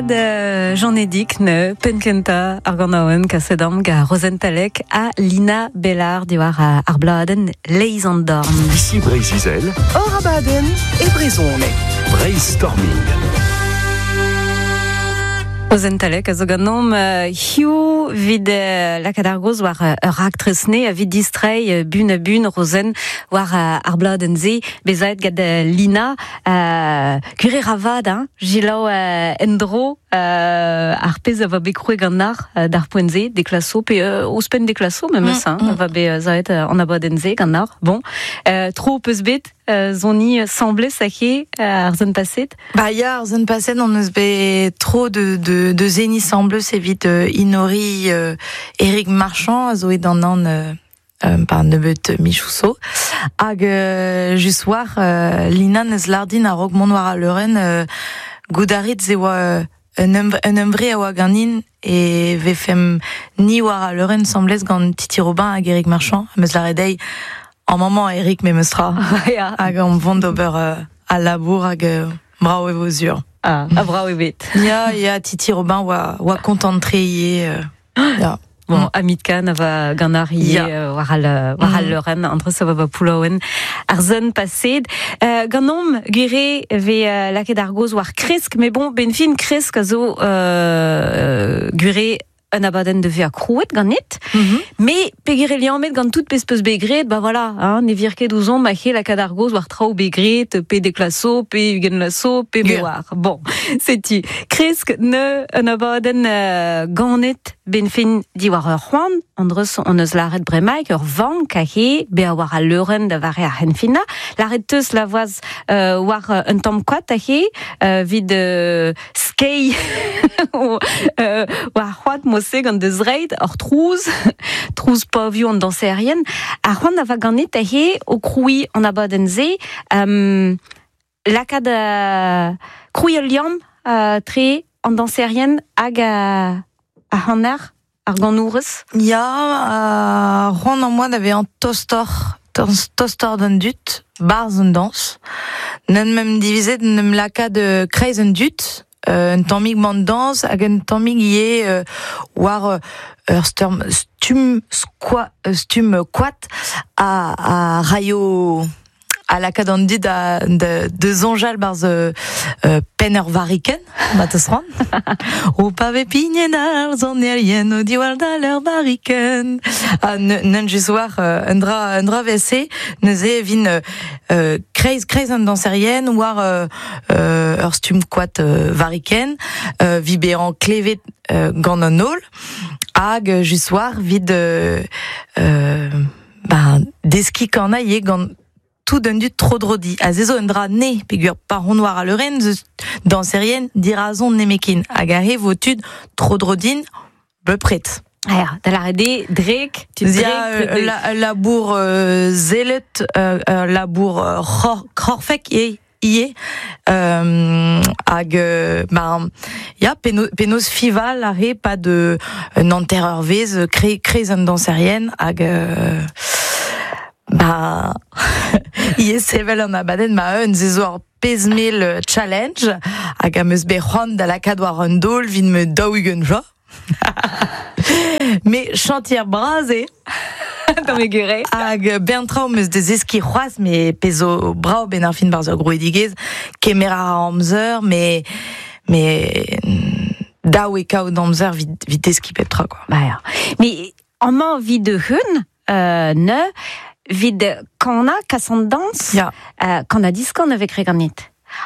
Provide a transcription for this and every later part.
Pennad Jean-Edic ne penn-kentañ ar ganaouenn kaset am gant Rozenn Talec ha Lina Bellard diwar ar bladenn Leiz an dorn. Ici Breizh-Izel. Hor abadenn e brezhoneg. Breizh-Storming. Rozenn Talec a zo ganeomp hiziv evit lakaat ar gaoz war ur raktres ne evit distreiñ bun ha bun Rozenn war ar bladenn-se bezaet gant Lina. Gwir eo vat, hein, selaou en-dro ar pezh a va bet krouet ganac'h d'ar poent-se, deklaso, pe ouzhpenn deklaso memes, hein, a va bet savet an abadenn-se ganac'h. Bon, tro peus bet soniñ 'sambles aze ar semaine paset? Ba ya, ar semaine paset on eus bet tro de seniñ 'sambles evit enoriñ Eric Marchand a zo et d'an an par nebeut michoù zo. Hag just war Lina neus lâret din a-raok mont war al leurenn goût a rit se oa un hunvre a oa ganin e vefemp ni war al leurenn 'sambles gant Titi Robin hag Eric Marchand. Am eus lâret dezhi amañ emañ Eric memes tra. Hag omp vont d'ober al labour hag brav e vo sur. Ah, ha brav eo bet. Ya, ya, Titi Robin oa kontant-tre ivez. Ya. Bon, Amit Kahn a va gant ar ivez war al war al leurenn entre ça va Poullaouen ar sun paset. Ganeomp gwir eo vez lakaet ar gaoz war kresk, mais bon, ben fin kresk a zo gwir eo un abadenn de vezañ krouet ganit. Mais peger eo liammet gant tout pezh peus bet graet, ba voilà, hein, ne vir ket ouzhomp a-he lakaat ar gaoz war traoù bet graet, pe deklaso, pe ugent laso, pe me oar. Bon, setu. Kresk ne un abadenn ganet ben fin diwar ur c'hoant, andreus on eus lâret bremaik ur vank aze, bezañ war al leurenn da vare ar c'henfinañ. Lâret teus la voaz war un tamm koad aze, evit skeiñ war c'hoad mod-se gant da zreid, ur trouz, trouz pavioù an dañserien. Ar c'hoant a va ganit aze o krouiñ an abadenn-se, lakaat krouiñ ul liamm tre an dañserien hag ar c'haner, ar ganourez. Ya, c'hoant am boa da vezañ tostoc'h, tostoc'h d'an dud, 'barzh an dañs. N'en em divizet en em lakaat kreiz an dud, un tammig man dañs hag un tammig ivez war ur stumm stumm koad a raio a lakaat an dud da soñjal 'barzh penn ur varrikenn, ma 'teus c'hoant. O pa vez pignet ar sonerien o diwall dal ur varrikenn. Ha n'eun just war un dra 'vel-se, neuze e vin kreiz kreiz an dañserien war ur stumm koad varrikenn, 'vit bezañ klevet gant an holl, hag just war 'vit ben deskiñ kanañ ivez gant tout an dud tro-dro di. Ha se zo un dra ne, peogwir pa on war al leurenn zeus dañserien dirazon nemetken. Hag aze vo tud tro-dro din bepred. Ya, da lâret eo drek, tud drek. Ya, ul labour sellet, ul labour korfek ivez. Ivez hag ben ya penaos fival a re pad un hanter-eurvezh kreiz an dañserien hag ba ivez sevel an abadenn ma-un se zo ar pezh mell challenge hag am eus bet c'hoant da lakaat war un daol evit ma 40 vloaz. Me chantier bras eo. Tamm egure. Hag bern traoù 'm eus da zeskiñ c'hoazh, me pezh zo brav benn ar fin 'barzh ur grouidigezh, kemer a ra amzer, me me dav eo kaout amzer 'vit deskiñ pep tra quoi. Ba ya. Mais amañ 'vit hun ne 'vit kanañ, kas an dañs, Ya. Kan-ha-diskan a vez graet ganit.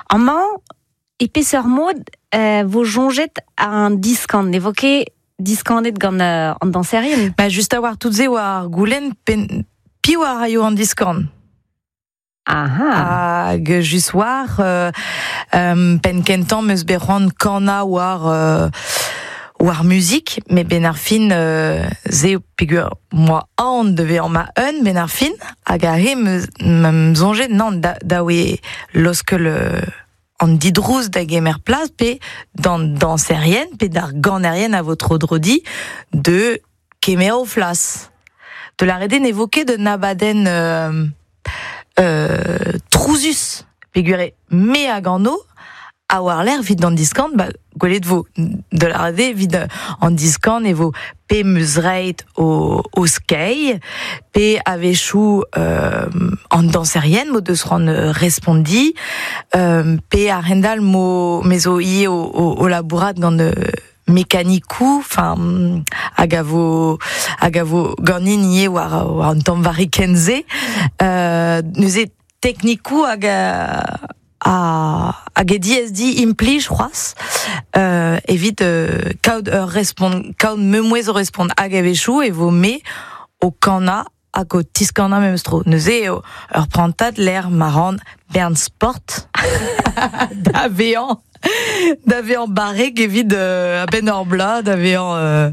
Amañ E peseurt mod vo soñjet an diskan? Ne vo ket diskanet gant an dañserien? Ba just a-walc'h tout se oa ar goulenn piv a raio an diskan? Aha. Hag just war penn kentañ 'm eus bet c'hoant kanañ war war muzik, met 'benn ar fin se peogwir 'moa aon da vezañ ma-un 'benn ar fin, hag aze 'm soñjet nann dav eo laoskel an didrouz da gemer plas pe d'an dañserien pe d'ar ganerien a vo tro-dro di de kemer o flas. De lâret eo ne vo ket un abadenn trouzus peogwir eo me a gano ha war-lerc'h evit an diskan ba Gwelet vo de la rade evit an diskan e vo pe meus reit o skei, pe a-wechoù an danserien mo deus c'hoant respondi, pe a-hend-all mo me zo ivez o labourat gant mekanikou, enfin, hag a vo, hag a vo ganin ivez war an tamm varrikenn-se. Neuze teknikoù hag hag e diaes di implij c'hoazh evit kaout ur respont, kaout meumouez o respont hag a-wechoù e vo me o kanañ hag o tiskanañ memes tro. Neuze eo ur prantad lec'h ma ran bern sport da vezañ da vezañ barrek evit a-benn ur bloaz, da vezañ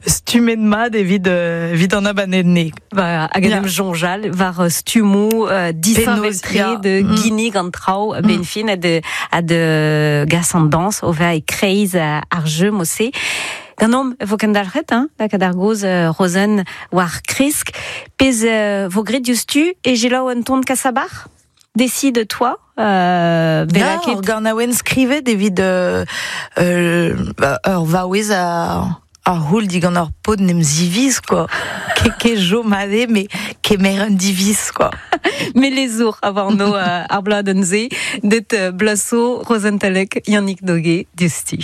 stummet mat evit evit an abadenn. Ba, hag en em soñjal war stummoù disheñvel-tre de ginnig an traoù a-benn fin ha de, ha de gas an dañs o vezañ e-kreiz ar jeu mod-se. Ganeomp e vo kendalc'het, hein, lakaat ar gaoz Rozenn war kresk. Pezh vo graet diouzhtu e selaou un ton Kasabar? Décide-toi. Ya, ur ganaouenn skrivet evit ur vaouez a c'houl digant ur paotr n'em ziviz, quoi. Ket chom aze, mais kemer un diviz, quoi. Melezour a warno ar bladenn-se, det blaso Rozenn Talec, Yannick Doguet, diouzhtu.